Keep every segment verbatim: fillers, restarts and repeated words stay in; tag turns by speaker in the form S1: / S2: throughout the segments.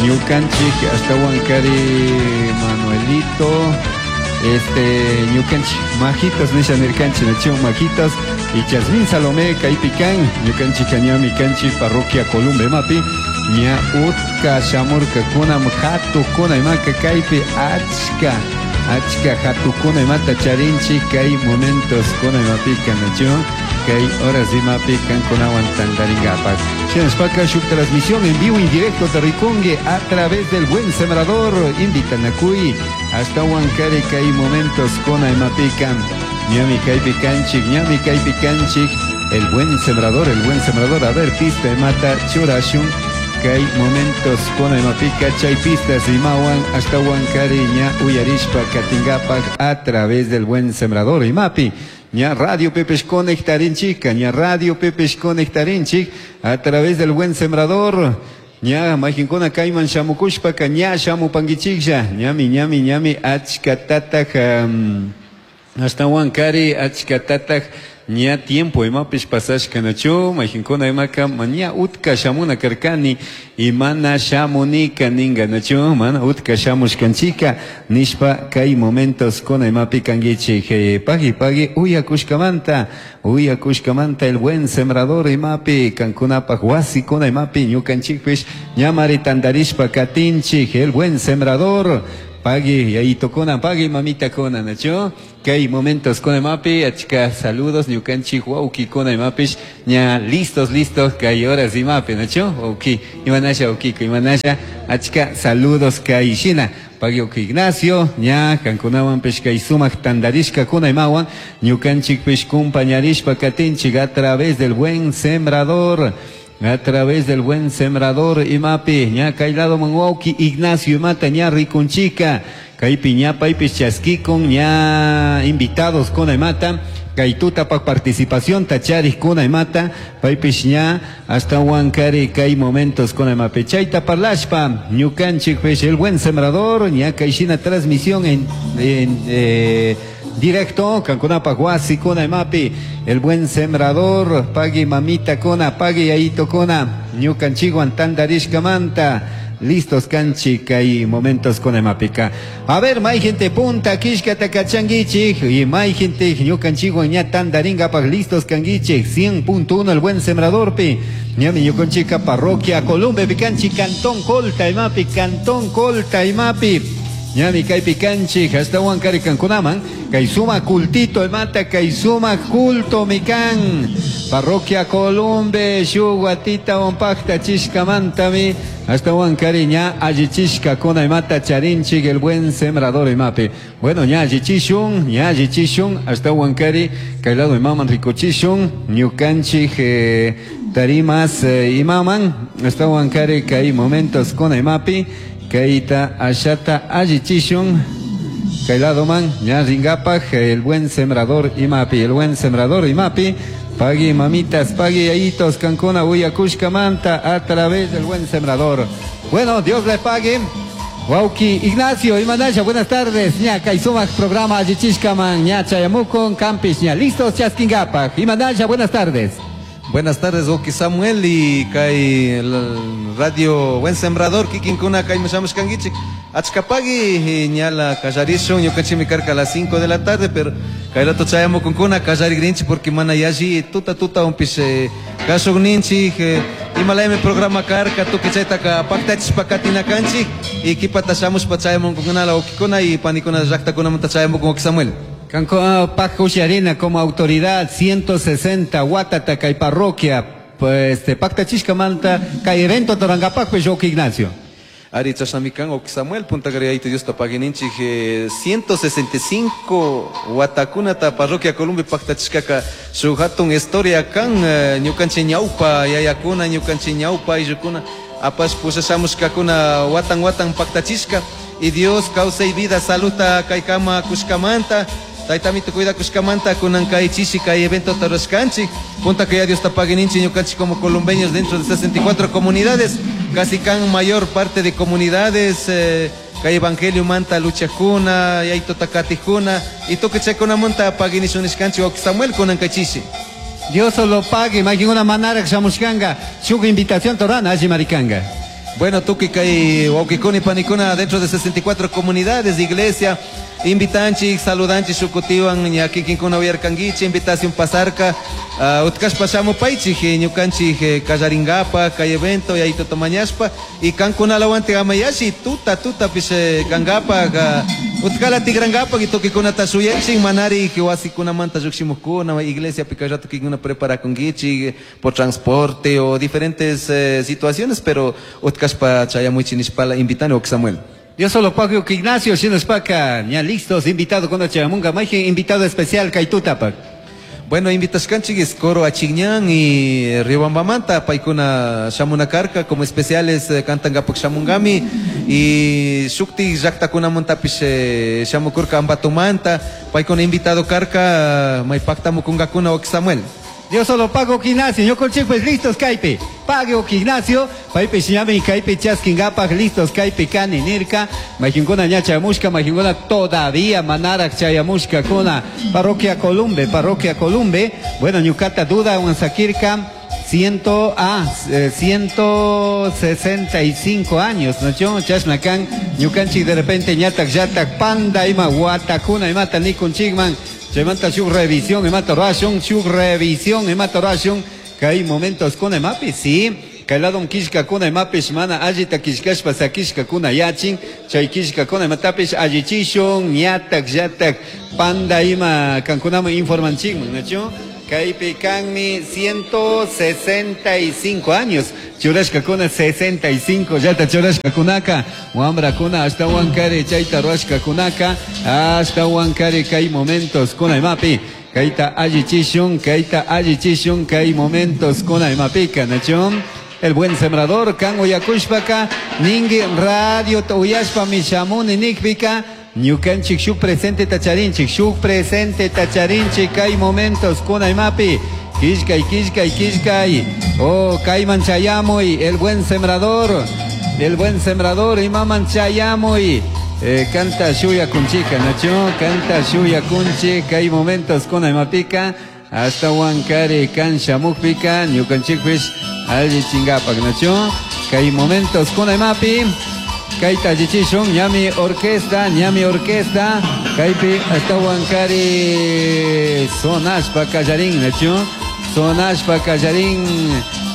S1: Ñukanchik ashtawankari Manuelito, este ñukanchik majitos nisha nirkanchik nachu majitos y Jasmine Salomé kaypi kan ñukanchik ñami kanchik parroquia Columbe imapi ña utka shamurkakuna hatukuna imaka kaypi achka achka hatukuna imata charinchik kay momentos kuna imapika nachu kay horas imapi kankunawan tantaringapak. Shinashpaka shuk transmisión en vivo en directo te rikungi a través del Buen Sembrador invitanakuy ashtawankari kay momentos kuna imapika ñami kaypi kanchik ñami kaypi kanchik el Buen Sembrador, el Buen Sembrador. A ver, pista imata churashun kay momentos kuna imapika chay pistas imawan ashtawankari ña uyarishpa katingapak a través del Buen Sembrador imapi ña Radio Pepesh conectarinchik, ña Radio Pepesh conectarinchik a través del Buen Sembrador. Ña mayqinkuna kayman shamukushpaka ña shamupankichiklla ñami ñami ñami achkatataj um, ashtawankari achkatataj ña tiempo imapish pasashkanachu mayqinkuna imaka ña utka shamuna karkani y mana shamunika ninga nachu mana utka shamushkanchika nishpa kay momentos kuna imapi kankichik. eh, pagui pagui uyakushkamanta uyakushkamanta el Buen Sembrador imapi kankunapaj wasikuna imapi ñukanchikpish ñamari tantarishpa katinchik el Buen Sembrador. Pagui yayito kuna, pagui mamita kuna, nachu kay momentos kuna imapi achka saludos ñukanchik wawki kuna imapish ña listos listos kay horas imapi nachu wawki imanasha wawkiko imanasha achka saludos kay shina pagui wawki Ignacio ña kankunawanpish kay sumak tantarishka kuna imawan ñukanchikpish kumpañarishpa katinchik a través del Buen Sembrador, a través del Buen Sembrador imapi ña kay lado man wawki Ignacio imata ña rikunchika kaypi ña paypish chaskikun ña invitados kuna imata kay tutapak participación tacharij kuna imata paypish ña ashtawankari kay momentos kuna imapi chayta parlashpa ñukanchikpish el Buen Sembrador ña kay shina transmisión en, en eh, directo kankunapaj wasi kuna imapi el Buen Sembrador pagui mamita kuna pagui yayito kuna ñukanchikwan tantarishkamanta listos kanchik kay momentos kuna imapika. A ver, may gente punta kishkata kachankichik y may gente ñukanchikwan ña tantarinkapak listos kankichik cien punto uno el Buen Sembradorpi ñami ñukanchika parroquia Columbe pikanchik cantón Colta imapi cantón Colta imapi ñami kaypi kanchik ashtawankari kankunaman kay suma cultito imata kay suma culto mikan parroquia Columbe shuk watita wampakta chishkamantami ashtawankari ña allichishka kuna imata charinchik el Buen Sembrador imapi. Bueno, ña allichishun ña allichishun ashtawankari kay lado imaman rikuchishun ñukanchik eh, tarimas eh, imaman ashtawankari kay momentos kuna imapi kayta ashata allichishun kay lado man ña ringapaj el Buen Sembrador imapi el Buen Sembrador imapi pagui mamitas pagui yayitos kankuna uyakushkamanta a través del Buen Sembrador. Bueno, Dios le pague. Wawki Ignacio imanasha buenas tardes ña kay sumak programa allichishkaman ña chayamukun kampish ña listos chaskinkapaj imanasha buenas tardes.
S2: Buenas tardes, wawki Samuel y kay Radio Buen Sembrador, kikinkuna kay shamushkankichik. Achkapagui ñala kallarishun, ñukanchikmi karka a las cinco de la tarde, pero kay rato chayamukunkuna kallarigrinchik porque mana yalli tuta tuta unpish eh, kashukninchik, eh, imalaymi programa karka tukuy chaytaka paktachishpa katinakanchik y kipata shamushpa chayamunkunala wawkikuna y panikuna llaqtakunamanta chayamukun wawki Samuel.
S1: Kanko Pajusharina como autoridad ciento sesenta watata kay parroquia pues este paktachishkamanta kay evento torangapak pues wawki Ignacio.
S2: Ari chashnami kan wawki Samuel punta kari Dios paguininchik eh, ciento sesenta y cinco watakunata parroquia Columbe paktachishkaka shuk hatun historia kan eh, ñukanchik ñawpa yayakuna ñukanchik ñawpa ayllukuna apash pushashamushkakuna watan watan paktachishka y Dios causa y vida saluta kaykama kushkamanta Taytamito cuidakushkamanta kunan kay chishi kay evento tarashkanchik punta que ya Dios tapaguininchik ñukanchik como columbeños dentro de sesenta y cuatro comunidades casi kan mayor parte de comunidades eh, kay evangelio manta luchakuna yayto takatijuna y toque chakuna monta paguinishunishkanchik wawki Samuel kunan kay chishi.
S1: Dios lo pague, imagina una manara shamushkanga shuk invitación torana alli marikanga.
S2: Bueno, tukuy kay wawkikuna panikuna dentro de sesenta y cuatro comunidades de iglesia invitanchik, saludanchik shukutiwan ña kikinkuna uyarkankichik invitación pasarka uh, utkashpa shamupaychik ñukanchik eh, kallaringapa kay evento yayito mañashpa y kankunalawantik amayashi tuta tutapish eh, kankapak uh, utkala tigrankapak y tukuykunata shuyanchik manari wasikunamanta llukshimukuna iglesiapi kay rato kikuna preparakunkichik por transporte o diferentes eh, situaciones, pero utkashpa chayamuychik nishpala invitani, Samuel.
S1: Dios solo pago que Ignacio, shinashpaka, ya listos, invitado con chayamunga, mayjin invitado especial kay tutapak.
S2: Bueno, invitashkanchik es coro Achigñán y Riobambamanta, paykuna shamuna karka, como especiales eh, cantangapak shamungami y shukti llaktakunamantapish eh, shamukurka Ambatomanta, paykuna invitado karka, may paktamukungakuna, Samuel.
S1: Dios solo pago Ignacio, ñukanchik pues listos kaypi. Pago Ignacio, paypish ñami kaypi chaskingapak listos kaypi kani nirka, mayjinkuna ña chayamushka, mayjinkuna todavía manaraj chayamushkakuna. Parroquia Columbe, Parroquia Columbe, bueno, ñukata duda sakirka, ciento, ah, eh, ciento sesenta y cinco años, ¿no? Chashna kan, ñukanchik de repente ñatak yatak panda ima watakuna imata nikunchikman, chaymanta shuk revisión imata rurashun, shuk revisión imata rurashun, kay momentos kuna imapi, sí, kay lado killkakuna imapish mana allita killkashpa sakishkakuna yachin, chay killkakuna imatapish allichishun, ñatak yatak panda ima kankunaman informanchikman, ¿no? Kaypi kanmi ciento sesenta y cinco años. Churashkakuna sesenta y cinco llata churashkakunaka. Wamrakuna ashtawan kari chayta rurashkakunaka. Ashtawan kari kay momentos kuna imapi. Kayta allichishun, kayta allichishun, kay momentos kuna imapika, nachun. El buen sembrador, kan uyakushpaka, ningi radio uyashpa mishamuni nikpika, ñukanchik shuk presente tacharinchik, shuk presente tacharinchik kay momentos kuna imapi. Killkay, killkay, killkay. Oh, kayman chayamuy, el buen sembrador. El buen sembrador, imaman chayamuy. Eh, canta shuya kunchika, nacho, canta shuya kunchi, kay momentos kuna imapika. Ashtawan kari kan shamukpika, ñukanchikpish allichingapak, nacho. Kay momentos kuna imapi. Kayta allichishun, ñami orquesta, ñami orquesta, kaypi ashtawan kari sonashpa kallarin, nacho, sonashpa kallarin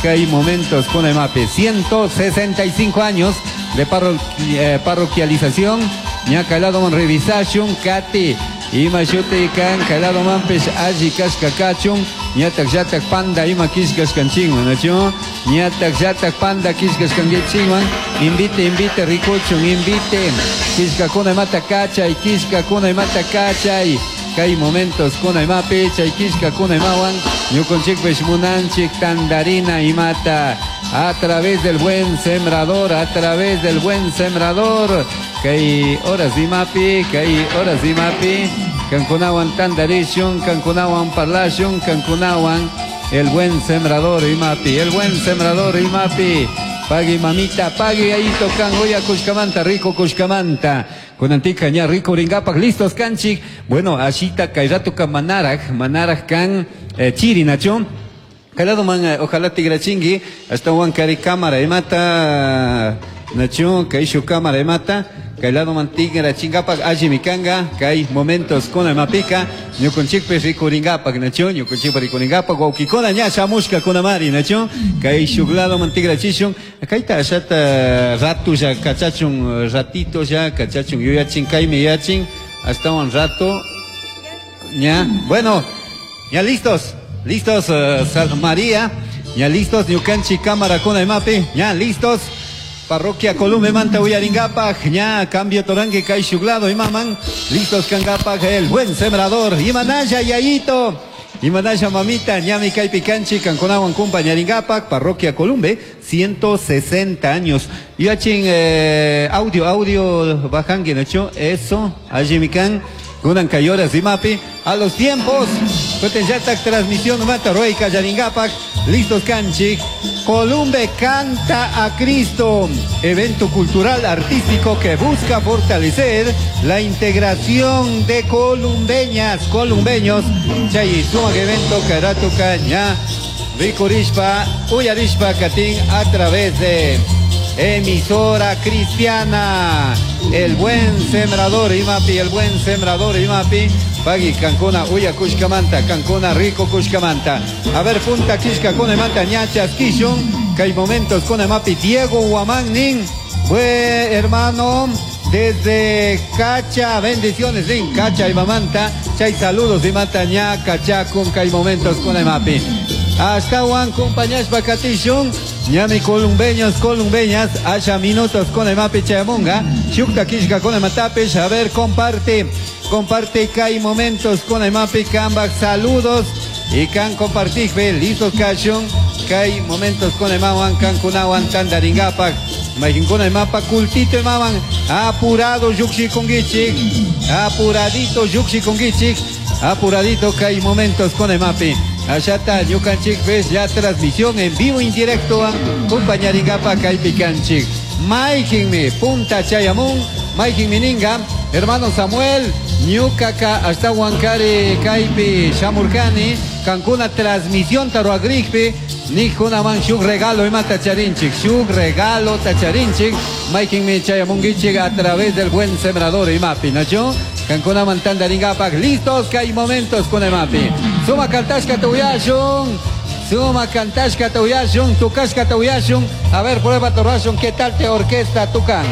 S1: kay momentos kuna imapi. ciento sesenta y cinco años de parro, eh, parroquialización, ña kay revisashun, kati, ima shuti kan, kay ladomanpish alli kashka kachun, ñatak llatak panda ima killkashkanchinman, nacho, ñatak llatak panda killkashkanchikman, invite, invite, rikuchun, invite, killkakuna imata kachay, killkakuna imata kachay, kay momentos kuna imapi, chay killkakuna imawan, ñukanchikpish munanchik tandarina imata, a través del buen sembrador, a través del buen sembrador, kay horas imapi, kay horas imapi, kankunawan tandarishun, kankunawan parlashun, kankunawan el buen sembrador imapi, el buen sembrador imapi. Pagui mamita, pagui ahí tocan oya kushkamanta, rico kushkamanta. Kunantika ña rikuringapak listos kanchik. Bueno, ashita kay ratuka manaraj, manaraj kan eh, chiri nacho. Kay ladoman, eh, ojalá tigrachingi, ashtawan kari cámara imata, nacho, kaishu cámara imata. Kay ladoman tigrachingapak allimi kanga, kay momentos kuna imapika, ñukunchikpish rikuringapak, nacho, ñukunchikpa rikuringapak, wawkikuna ña shamushka kunamari, nacho, kay shuk ladoman tigrachishun, kayta ashata ratu ya kachachun, ratito ya kachachun, yuyachin kaymi yachin, ashtawan rato, ña, bueno, ya listos, listos, uh, Sal María, ya listos, ñukanchik cámara kuna imapi, ya listos. Parroquia Columbe manta uyaringapak, ña cambio torangue kay shuk lado imaman, listos kangapak el buen sembrador, imanaya yayito, imanaya mamita, ñami kaypi kanchik, kankunawan kumpañaringapak, Parroquia Columbe, ciento sesenta años. Yachin eh, audio, audio bajangue, ¿no? Eso, allimikan, kunan kayoras imapi, a los tiempos, yatak transmisión mata roika yaringapak, listos kanchik, Columbe canta a Cristo, evento cultural artístico que busca fortalecer la integración de columbeñas, columbeños, chay sumak evento kay ratuka ña rikurishpa, uyarishpa katin a través de Emisora cristiana. El buen sembrador imapi, el buen sembrador imapi. Pagui kankuna uyakushkamanta, kankuna rikukushkamanta. A ver, punta kishka manta ñachas kishun. Kay momentos con mapi Diego Guamán nin. Buen hermano. Desde Cacha, bendiciones en Cacha y Mamanta. Chay saludos y mata ña Cacha con kay momentos con mapi. Hasta Juan compañeros bakatishun. Ñami columbeños, columbeñas, haya minutos con el mapi chayamunga. Shukta kishka con el matapish. A ver, comparte, comparte kay momentos con el mapi kambak saludos. Y kan compartir, listos kashun. Kay momentos con el mawan, kan kunawan, tandaringapak. Majinkuna el mapa cultito el maman. Apurado yuxi conguichik. Apuradito yuxi conguichik. Apuradito kay momentos con el mapi. Allá ñukanchik ves ya transmisión en vivo indirecto compañaringapa kaypi kanchik. Maijinmi punta chayamun, maijinmi ninga, hermano Samuel, ñukaka hasta Huancari kaypi shamurkani, kankuna transmisión taruagrikpi, nijkunaman shuk regalo ima tacharinchik, shuk regalo tacharinchik, maijinmi chayamunguichik a través del buen sembrador imapi, ¿no? Kankuna tandaringapak, listos que hay momentos con el mapi. Suma kantashka tuyashun, suma kantashka tuyashun, tukashka tuyashun. A ver, prueba torrashun, ¿qué tal te orquesta tucan?